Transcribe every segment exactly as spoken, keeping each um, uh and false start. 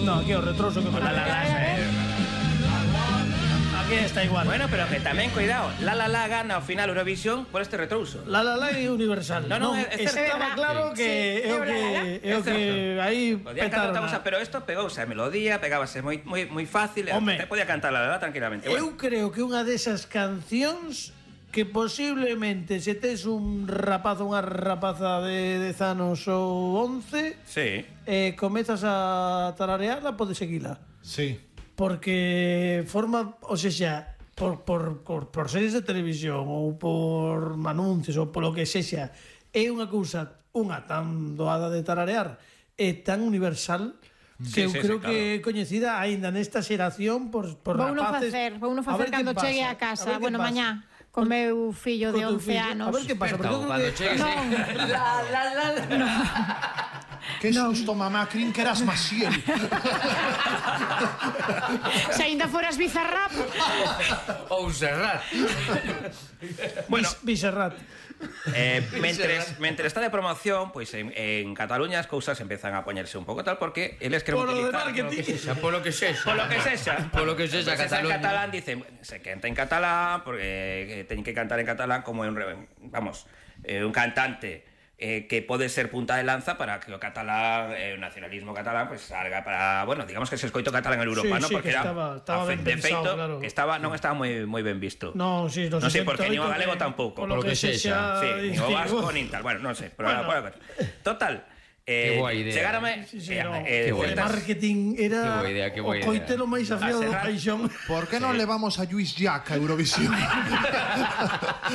No, aquí o retroso que me La la la, eh. Aquí está igual. Bueno, pero que tamén, cuidado, La La La gana ao final Eurovisión por este retrouso. La La La é universal. No, no, é certo. estaba claro que é o que é o que aí Podía cantar outra cousa, pero isto pegouse a melodía, pegábase moi moi moi fácil, e te podía cantar La La La tranquilamente. Eu creo que unha desas cancións que posiblemente se tes un rapazo, unha rapaza de dez anos ou once, sí, eh, comezas a tararearla, podes seguila. Sí. Porque forma, o sea, por, por, por, por series de televisión ou por anuncios ou polo que sexa, é unha cousa, unha tan doada de tararear, é tan universal que sí, eu sí, creo sí, que é coñecida aínda nesta xeración por, por vou no rapaces. facer, vou no facer cando chegue a casa, bueno, mañá. Con meu fillo de once anos. A ver que pasa, porque eu creo que... No. La, la, la, la. Que susto, mamá, crin que eras Maciel. Se ainda foras Bizarrap. Ou Serrat. Bueno, Bizarrat. Eh, mentres, mentre está de promoción, pois pues en, en Cataluña as cousas empezan a poñerse un pouco tal porque eles queren Polo de utilizar marketing. Polo que sexa. Polo que sexa. Polo que sexa, Pues Cataluña. En catalán dicen, se canta en catalán porque teñen que cantar en catalán como un vamos, eh, un cantante eh, que pode ser punta de lanza para que o catalán, eh, o nacionalismo catalán, pues salga para, bueno, digamos que se escoito catalán en Europa, Sí, ¿no? sí, Porque que era estaba- estaba a fe- ben de pensado, feito, claro. que estaba non estaba moi moi ben visto. No, sí, no, Non sei porque nin o galego que- tampouco. polo que sexa, Sí, nin o digo. vasco nin tal. Bueno, non sei, pero Bueno. bueno, total. Eh, Qué guai idea. Chegarame Sí, sí, eh, no. eh, Qué guai. O certas- marketing era Qué boa idea, qué boa o coitelo máis afiado do Serrat. paixón. Por que non levamos a Lluís Llach a Eurovisión?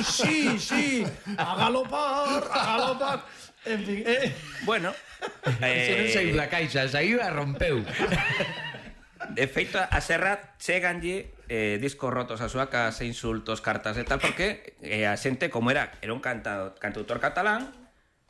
Sí, sí, a galopar, a galopar. En fin, eh, Bueno, Se non saiu da caixa, saiu e rompeu. de feito, a Serrat cheganlle eh, discos rotos a súa casa, insultos, cartas e tal, porque eh, a xente, como era era un canta, cantautor catalán,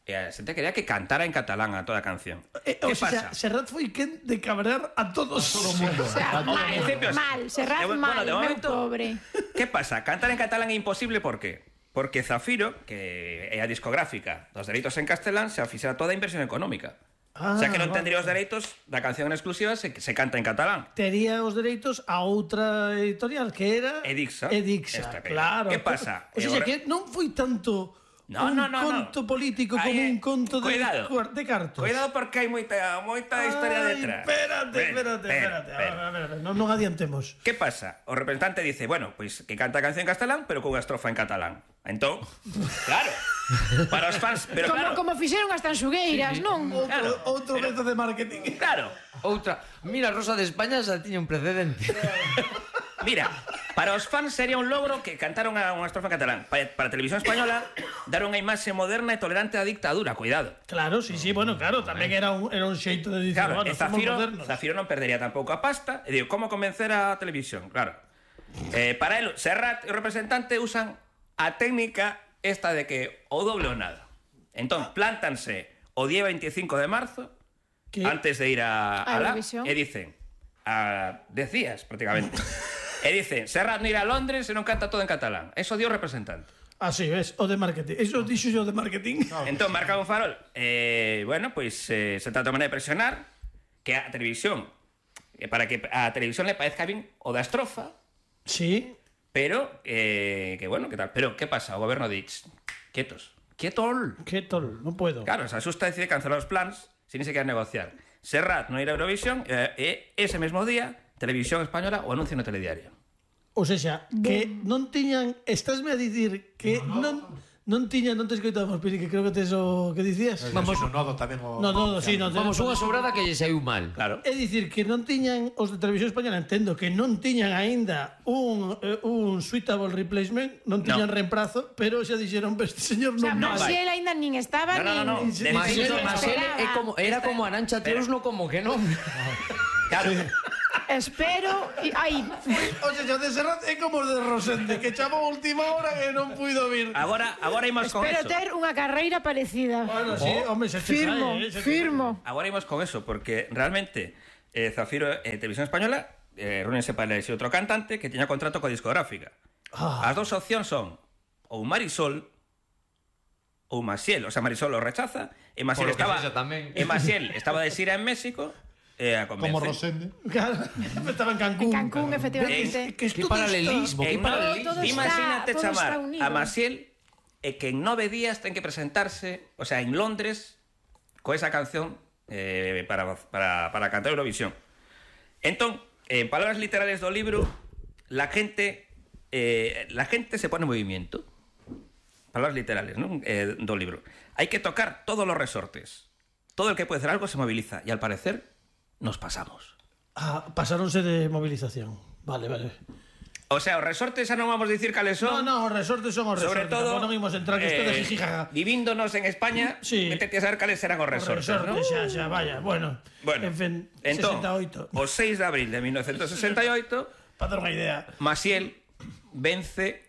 e a xente quería que cantara en catalán a toda a canción. eh, Que o sea, pasa? Serrat foi quen de cabrear a todos. Todo o mundo. O sea, mal, En principio, mal, Serrat eh, bueno, mal, de meu momento- pobre. Que pasa? Cantar en catalán é imposible, por qué? Porque Zafiro, que é a discográfica dos dereitos en castelán, se fixera toda a inversión económica. Ah, o sea que non vale. tendría os dereitos da canción en exclusiva se, se canta en catalán. Tería os dereitos a outra editorial que era Edixa. Edixa, Esta que- claro. Que pasa? O sea, E o re- que non foi tanto No, un no, no, conto no. político Aí, como eh, un conto de, cuidado. cuar- de cartos. Cuidado porque hai moita moita historia Ay, detrás. Espérate, Ven, espérate, ven, espérate. ven. A ver, a ver, a ver, non, non adiantemos. Que pasa? O representante dice, bueno, pois pues, que canta a canción en castelán, pero cunha estrofa en catalán. Entón, claro, para os fans, pero Como, claro, como fixeron as tanxugueiras, non? Outro, Claro, outro pero- método de marketing. claro. Outra. Mira, Rosa de España xa tiña un precedente. Mira, para os fans sería un logro que cantaron a unha estrofa en catalán. Para, para a televisión española, dar unha imaxe moderna e tolerante á dictadura, cuidado. Claro, sí, sí, bueno, claro, tamén era un, era un xeito de dicir, Claro, bueno, e somos Zafiro, modernos. Zafiro non perdería tampouco a pasta. E digo, como convencer a televisión? Claro. Eh, para el, Serrat e o representante usan a técnica esta de que o doble ou nada. Entón, plántanse o día veinticinco de marzo, Que- antes de ir a, A a la, Eurovisión. e dicen, a dez días prácticamente, e dicen, Serrat non irá a Londres e non canta todo en catalán. Eso dio o representante. Así ves, o de marketing. Eso dixo yo de marketing. Entón, marca un farol. Eh, bueno, pois pues, eh, se trata de maneira de presionar que a televisión, eh, para que a televisión le parezca bien o da estrofa, Sí. pero, eh, que bueno, que tal. Pero, ¿qué pasa? O goberno dice, quietos, quietol. Que tol, non puedo. Claro, se asusta decide cancelar os plans sin ni siquiera negociar. Serrat non ir a Eurovisión e eh, ese mesmo día, Televisión Española o anuncio no telediario. O sea, que non tiñan, estásme a dicir que non non tiñan, non te escoitamos, Piri, que creo que tes o que dicías. Vamos, no nodo tamén o... No, no, sí, no. Vamos, unha sobrada que lle saiu mal. Claro. É dicir que non tiñan os de Televisión Española, entendo que non tiñan aínda un eh, un suitable replacement, non tiñan No. reemplazo, pero xa dixeron, este señor O sea, non vai. Marcial aínda nin estaba, No, no, no, no. nin... De Marcelo, feito, Marcelo é como, era como Arancha Espera. Teuslo, como que non. Claro. Espero... y- Ai, O sea, o de Serrat é como o de Rosende, que chamou a última hora e non puido vir. Agora, agora imos con espero eso. ter unha carreira parecida. Bueno, sí, home, se te Firmo, cae, eh, se te firmo. Agora imos con eso, porque realmente eh, Zafiro e eh, Televisión Española eh, reúnense para elegir outro cantante que tiña contrato coa discográfica. Ah. As dous opcións son ou Marisol ou Maciel, o sea, Marisol o rechaza e Maciel Por lo que estaba sexa tamén. e Maciel estaba de xira en México e a convence. Como Rosende. Claro, estaba en Cancún. En Cancún, efectivamente. Que Que paralelismo, E que no, paralelismo. Todo está- imagínate todo está chamar unido. a Maciel e que en nove días ten que presentarse, o sea, en Londres, co esa canción eh, para, para, para cantar Eurovisión. Entón, en palabras literales do libro, la gente eh, la gente se pone en movimiento. Palabras literales, ¿no? Eh, do libro. Hay que tocar todos los resortes. Todo el que puede hacer algo se moviliza. Y al parecer, nos pasamos. Ah, pasáronse de movilización. Vale, vale. O sea, os resortes xa non vamos a dicir cales son. No, no, os resortes son os Sobre resortes. todo, Tampouco non imos entrar que este de eh, jijijaja. vivíndonos en España, Sí. métete a saber cales serán os Os resortes, resortes, ¿no? xa, xa, vaya. Bueno, Bueno, en fin, entón, sesenta e oito. o seis de abril de mil novecientos sesenta e oito, Para dar unha idea. Maciel vence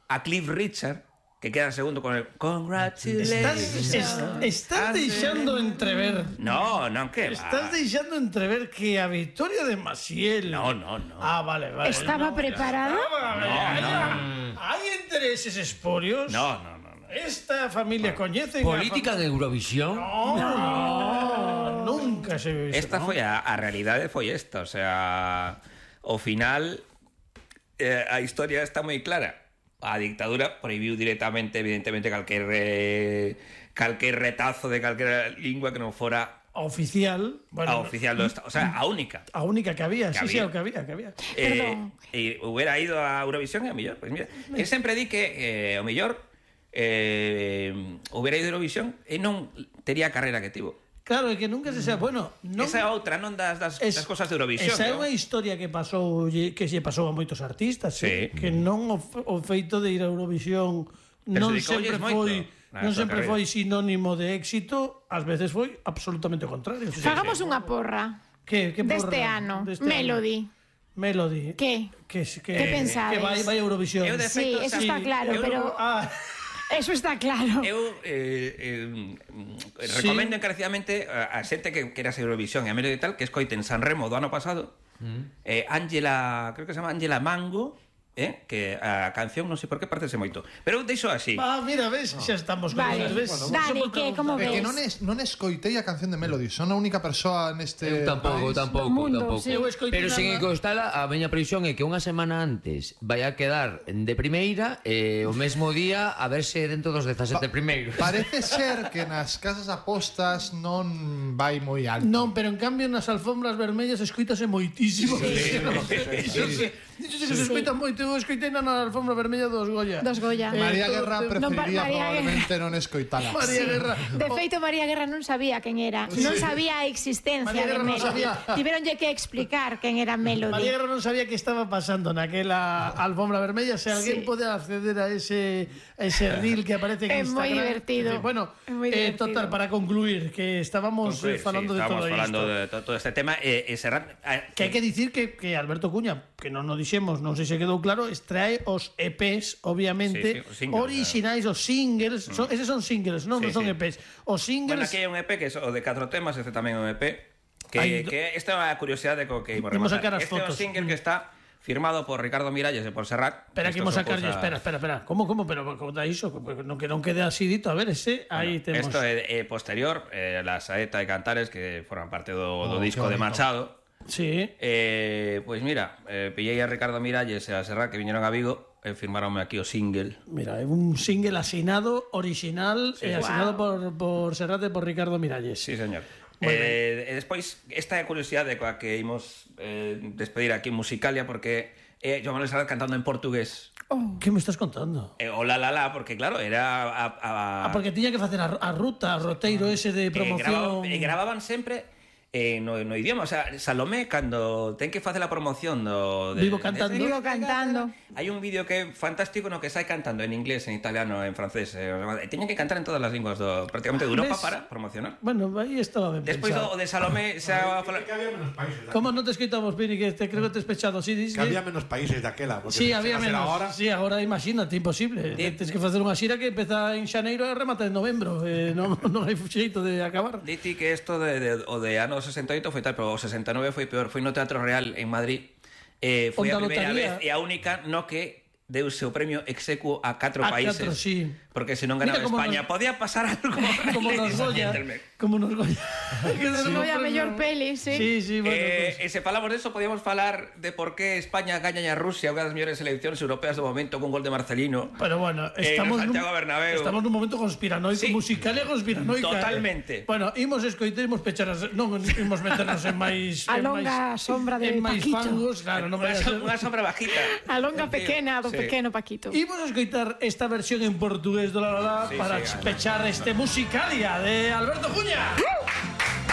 a Cliff Richard, que queda segundo con el Estás, Congratulations. es- estás deixando entrever... No, non, que va. Estás deixando entrever que a victoria de Maciel... No, no, no. Ah, vale, vale. ¿Estaba no, preparada? no, hay, hay intereses espurios. No, no, no, no. Esta familia coñece... Política de Eurovisión. No, no, nunca se viu iso, Esta ¿no? foi a, a realidade foi esta, o sea, ao final eh, a historia está moi clara. A dictadura prohibiu directamente, evidentemente, calquer eh, calquer retazo de calquera lingua que non fora A oficial... Bueno, a oficial do Estado, o sea, a única. A única que había, Que sí, sí, había. o que había, que había. Eh, Perdón. e hubiera ido a Eurovisión e a mellor, pues mira, eu sempre di que eh, o mellor eh, hubiera ido a Eurovisión e non tería a carreira que tivo. Claro, é que nunca se sabe... Bueno, non... Esa é outra, non das, das, Es- das cosas de Eurovisión. Esa é ¿no? unha historia que pasou que se pasou a moitos artistas, Sí. eh, que non o, f- o feito de ir a Eurovisión non Perxudicoulle sempre moito foi na non súa sempre carreira. foi sinónimo de éxito, ás veces foi absolutamente o contrario. Sí, Fagamos unha porra que, que deste porra, ano. deste Melody. ano. Melody. Que? Que, que, Que pensades? Que vai, vai a Eurovisión. Eu de Sí, feito, eso sí, está claro, Eu pero non- Ah, eso está claro. Eu eh, eh, recomendo encarecidamente a, a xente que quera ser Eurovisión e a Melody e tal que escoiten San Remo do ano pasado. Mm. Eh, Ángela, creo que se chama Ángela Mango, eh, que a canción non sei por que parece moito. Pero eu deixo así. ah, mira, ves, xa estamos con Vale, elas, ves? Dani, Só por que, como preguntar. É que ves? non, es, non escoitei a canción de Melody. Son a única persoa neste Eu tampouco, país. tampouco, Do mundo, tampouco. sí. Eu escoitei Pero sen nada. encostala, a miña previsión é que unha semana antes vai a quedar de primeira e o mesmo día a verse dentro dos dezasete primeiros. Parece ser que nas casas apostas non vai moi alto. Non, pero en cambio nas alfombras vermellas escoítase moitísimo. Sí, Iso se, iso se, que se escoita moito. Eu escoitei na alfombra vermella dos Goya. Dos Goya. Eh, María todo- Guerra todo- preferiría María probablemente non escoitala. María Guerra. De feito, María Guerra non sabía quen era. Non sabía a existencia María de Guerra non Melody. sabía. Tiveronlle que explicar quen era María Melody. Guerra non sabía que estaba pasando naquela alfombra vermella. Se alguén Sí. pode acceder a ese a ese reel que aparece en É moi Instagram. divertido. Eh, Bueno, É moi eh, divertido. total, para concluir, que estábamos Concluir, eh, falando sí, de todo estábamos falando isto. de to- todo este tema e, e Serrat eh, Que hai que dicir que, que Alberto Cuña, que non nos dixemos, non sei se quedou claro, extrae os E Pes, obviamente, Sí, sí, os singles, orixinais, os singles, son, eses son singles, non, Sí, non son sí. E Pes. Os Bueno, singles... aquí hai un E P que é o de catro temas, este tamén é un E P que, Hai do- que esta é a curiosidade co que imos Imos rematar. sacar as Este é un fotos. single que está firmado por Ricardo Miralles e por Serrat. Espera, que Estos imos son sacarlle, cousas- espera, espera, espera. Como, como, pero conta iso, non que non quede así dito, a ver, ese, aí temos. Esto é, é posterior, eh, la Saeta e Cantares que forman parte do, do Oh, disco qué de bonito. Machado. Sí. Eh, pois mira, eh, pillei a Ricardo Miralles e a Serrat que viñeron a Vigo e firmaronme aquí o single. Mira, é un single asinado, original, Sí. e asinado por, por Serrat e por Ricardo Miralles. Sí, señor. Moi Eh, e despois, esta é a curiosidade coa que imos eh, despedir aquí en Musicalia porque é Joan Manuel Serrat cantando en portugués. Que me estás contando? Eh, o la la la, porque claro, era a, a, Ah, porque tiña que facer a, a ruta, a roteiro ese de eh, promoción. gravaban, eh, gravaban sempre eh, no, no idioma, o sea, Salomé cando ten que facer a promoción do de, Vivo cantando. de- Vivo cantando. Hai un vídeo que é fantástico no que sai cantando en inglés, en italiano, en francés, eh, e teñen que cantar en todas as linguas do prácticamente de Europa ¿Ves? para promocionar. Bueno, aí estaba ben Despois pensado. do, o de Salomé se a falar. Que había menos países. Como non te escoitamos, Pini, que te creo que te has pechado así, dices? Que había menos países daquela. porque Sí, se había hacer menos. Ahora, Sí, agora imagínate, imposible. Di- Tens que facer unha xira que empeza en xaneiro e remata en novembro. Eh, non, non hai xeito de acabar. Diti que isto de, de, o de ano sesenta e oito foi tal, pero o sesenta e nove foi peor. Foi no Teatro Real en Madrid. Eh, foi a Onda primeira lotaría. vez e a única no que deuse o premio execuo a catro A países. catro, sí. Porque se non Mira ganaba como España, nos- podía pasar algo. Como nos Ladies and Goya, gentlemen. como nos Goya. Foi a mellor peli, sí. Sí, sí, bueno. Eh, Pues. e se falamos deso, podíamos falar de por qué España gaña a Rusia, unha das mellores seleccións europeas do momento, con gol de Marcelino. Pero bueno, Eh, estamos no Santiago nun, Bernabéu. estamos nun momento conspiranoico, Sí. musical e conspiranoica. Totalmente. Eh. Bueno, imos escoitar, imos pechar as, non imos meternos en máis A en longa máis, sombra de en máis Paquito. fangos, claro, non vai a ser. Unha sombra bajita. A longa pequena do Sí. pequeno Paquito. Imos a escoitar esta versión en portugués do La La La Sí, para sí, pechar este musicalia de Alberto Cuña.